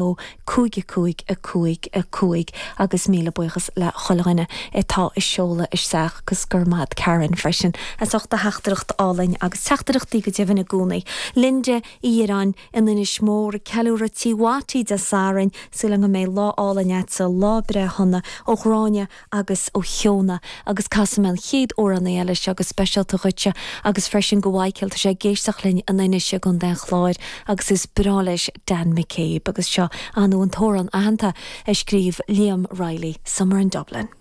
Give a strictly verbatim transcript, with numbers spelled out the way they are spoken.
dó cúig a cúig a cúig a cúig agus míle buíochas le chuile dhuine atá ag seoladh isteach agus go raibh maith agat Karen freisin as ucht do theachtaireacht álainn agus teachtaireachtaí go deimhin i gcónaí. Linda Uí Dhireáin in Inis Mór ag ceiliúradh Tí Watty Dé Sathairn súil go mbeidh lá álainn agat lá breithe shona ó Ghráinne agus ó Shióna agus casfaidh mé an chéad amhrán eile seo go speisialta dhuitse agus freisin go Michael tá sé ag éisteacht linn in Inis i gContae an Chláir agus is breá leis Dan McCabe agus seo an an t-amhrán aitheanta a scríobh Liam Reilly Summer in Dublin.